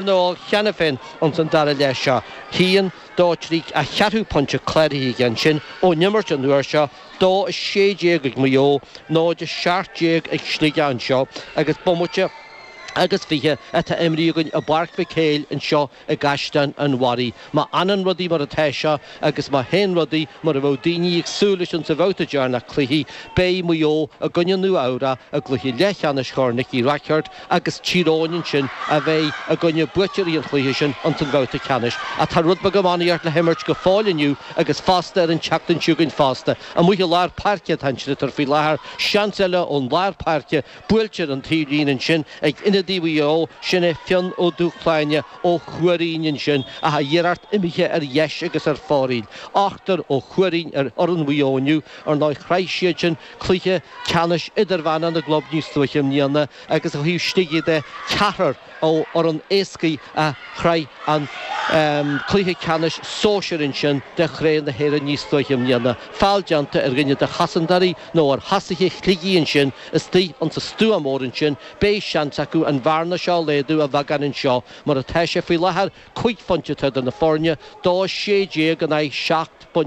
Na cheana féin ins an dara leath seo. 1, 2, 3, a cheathrú pointe cláraithe aige ansin ón imirt an uair seo, 2, 16 ag Maigh Eo, 0, 17 ag Sligeach anseo agus bomaite agus 20 atá imrithe againn i bPáirc Mhic Éil anseo i gCaisleán an Bharraigh. Má fhanann rudaí mar atá seo agus má théann rudaí mar a bheadh daoine ag súil leis insa bhabhta deireanach cluichí, beidh Maigh Eo i gcoinne Nua Eabhrac i gcluiche leathcheannais Chorn Nicky Rackard agus Tír Eoghain ansin a bheidh i gcoinne buaiteoirí an chluiche sin ins an bhabhta ceannais. Ach tá rud beag iománaíocht le himirt go fóill inniu agus fosta ar an tseachtain seo chugainn fosta. Amuigh i lár páirce atá an sliotar faoi láthair, seans eile ón lár páirce, buailte ar an taobhlíne ansin ag ionadaí Mhaigh Eo, sin é Fionn Ó Dúshláine ó Thuairín ansin ach a iarracht imithe ar dheis agus ar fóraoil. Ochtar ó Thuairín ar fhoireann Mhaigh Eo inniu, ar ndóigh shroich siad sin cluiche ceannais idirmheánach na gclub níos luaithe i mbliana agus ó thaobh Shligigh de, ceathrar ó fhoireann Iascaigh a shroich an cluiche ceannais sóisir ansin de Chraobh na hÉireann níos luaithe i mbliana. Feall déanta ar dhuine de chosantóirí nó ar thosaithe Shligigh ansin istigh insa stua mór ansin. Beidh seans acu an bhearna seo a laghdú a bheagán anseo mar atá sé faoi láthair, 5 phointe atá idir na foirne, 2, 16 in aghaidh 7.